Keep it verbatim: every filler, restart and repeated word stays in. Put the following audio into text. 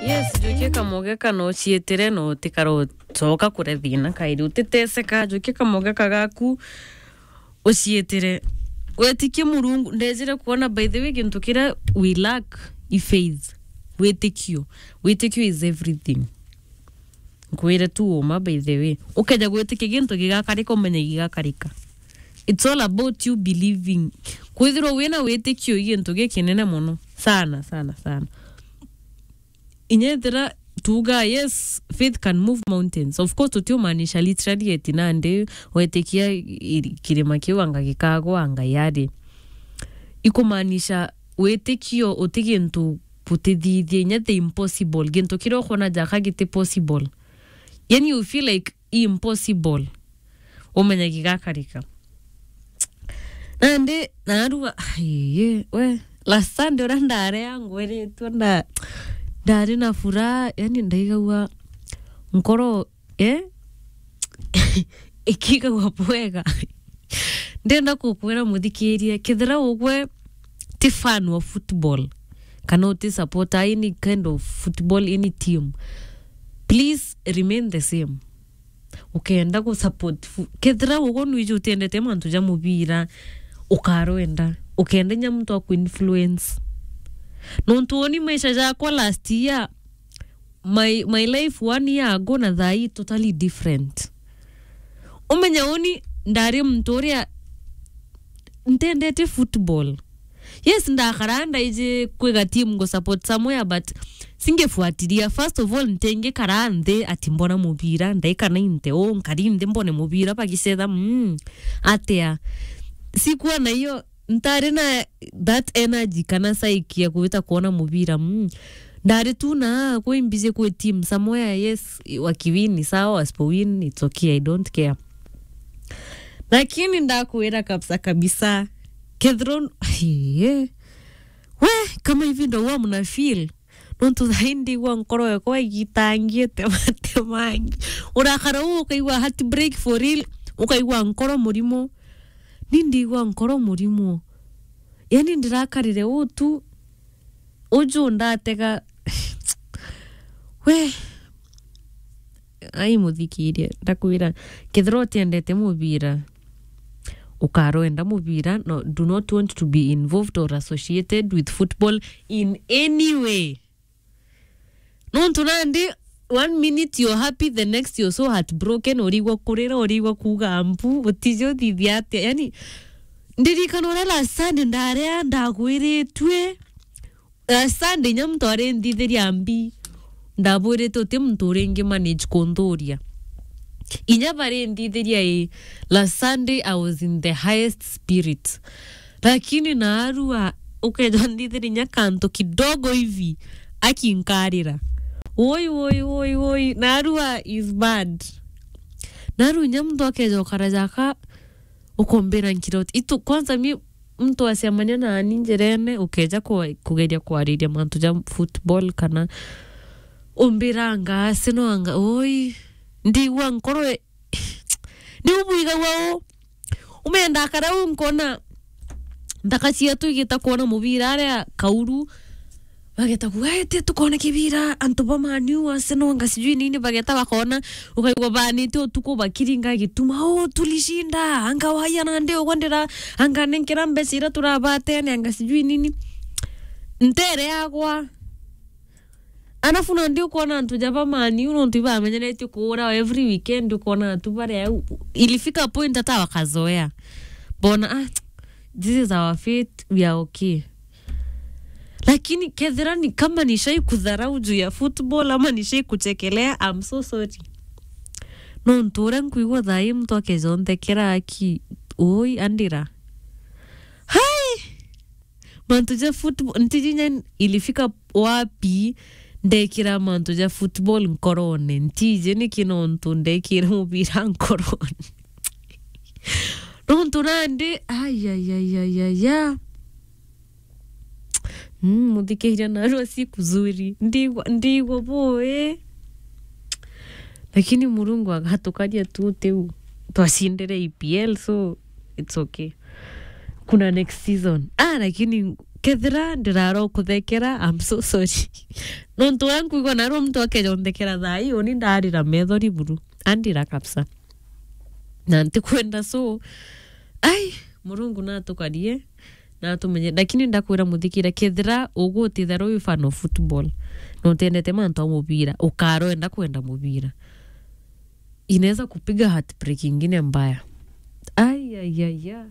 Yes, njukia kamogeka na uciitire na utikara ucoka kuria thina kairi. Utiteseka, njukia kamogeka gaku uciitire. Witikie Murungu, ndejire kuona, by the way, gintu kiria we lack i faith. Witikio. Witikio is everything. Nkwire tu uma, by the way. Ukeja gwitikia gintu gigakarika, umenye gigakarika. It's all about you believing. Kwithirwa wina witikio i gintu gikinene mono. Sana, sana, sana. Inya ethira tuuga, yes, faith can move mountains. Of course, tutiumaanisha literally eti nandi wetikia i-, kirima kiu anga gikagwa, anga yari. Ikumaanisha witikio uti gintu butithithia, inya the impossible. Gintu kiria ukwona jaka giti possible. Yani, you feel like impossible. Umenye gigakarika. Nandi, narua, aiye, we, last Sunday uria ndarea ngwiritwe, nda-, ndari na furaha, yani, ndaigagua nkoro, eh? Ikigagua bwega. Ndenda kukwira muthikirie, kethira ugwe ti fan wa football, kana uti supporter any kind of football, any team, please remain the same. Ukenda ku support fu-, kethira ugo nwiji utiendete mantu ja mubira, ukarwenda. Ukenda inya muntu aku influence. Nontu uni maisha jakwa last year, my, my life one year ago na thaa ii totally different. Umenya uni ndari muntu uria ntendete football. Yes, ndakaraa ndaiji kwiga team ngu support somewhere, but singifuatilia. First of all, ntingikaraa nthi ati mbona mubira, ndaikara inte uu, nkari nthi mbone mubira bagicetha, mm, atia? Sikuwa na hiyo, ntari na that energy kana psyche ya kuwita kuona mubira, mm. Ndari tu na kwi mbiji kwi team somewhere, yes, wakiwin ni sawa, wasipowin, it's okay, I don't care. Lakini ndakwira kabisa kabisa, kethira, hee, we, kama hivi ndo huwa mna feel, nontu thaa ii ndigua nkoro yakwa igitangiite matemangi. Urakara uu ukaigua heartbreak for real, ukaigua nkoro murimo. Ni ndigua nkoro murimo. Yani ndirakarire uu tu, uju ndatega, we, ai muthikirie, ndakwira, kethira utiendete mubira, ukarwenda mubira, no, do not want to be involved or associated with football in any way. Nontu nandi, one minute you're happy, the next you're so heartbroken, urigwa kurira, urigwa kuuga mbu, utiji uthithia atia. Yani, ndirikana uria last Sunday ndarea, ndagwiritue, last Sunday inya muntu ari nthithiria mbi, ndabwirite uti muntu uringi manage kunthuria. Inya bari nthithiria ii, last Sunday I was in the highest spirit. Lakini naarua, ukeja nthithiria inya kantu kidogo hivi, akinkarira. Woi, woi, woi, woi, naarua is bad. Naarua inya muntu akeja ukara jaka, ukombira nkiroti. Itu, kwanza mi muntu acemania nani njirene, ukeja kwa-, kugeria kwariria mantu ja football kana umbiranga Arsenal anga, oi, ndigua nkoro e-, ni ubwigagua u? Umenda akara u nkona nthaka cietu igita kwona mubira aria kauru, bageta kuga, "Ete tukone kibira, antu ba Man U, Arsenal, anga sijui nini," bageta bakona, ukaigua banite utuku bakiringa gituma, "Oh, tulishinda, anga waya nandi ugwa ndira, anga nenkera mbeca iria turabatene, anga sijui nini." Ntere yagwa. Alafu nandi ukwona antu ja ba Man U, nontu ibamenyeretie kuura every weekend, ukwona antu baria au, ilifika point hata wakazoea. Bona, "Ah, this is our fate, we are okay." Lakini kethira ni kama nishai kudharau juu ya football ama nishai kuchekelea, I'm so sorry. Nontu uria nkwigua thaa ii muntu akejonthekera aki, ui, andira. Hai! Mantu ja football, ntiji inya ilifika wapi ndekira mantu ja football nkorone. Ntiji niki nontu ndekire mubira nkorone. Nontu nandi, ai, ai, ai, ai, ai, ya. Mm, muthikiria narua siku zuri. Ndigwa, ndigwa bui. Lakini Murungu agatukaria tu tiu. Twacindire E P L, so it's okay. Kuna next season. Ah, lakini Kethira ndirara ukuthekera, I'm so sorry. Nontu uria nkwigua narua muntu akeja unthekera thaa ii, uni ndarira methori buru. Andira kabisa. Na ntikwenda, so, ai, Murungu natukarie, natumenye. Lakini ndakwira muthikira, kethira ugutithara wi fan of football, na utendete mantu a mubira, ukarwenda kwenda mubira, inaweza kupiga heartbreak ingine mbaya. Ai, ai, ai, ai.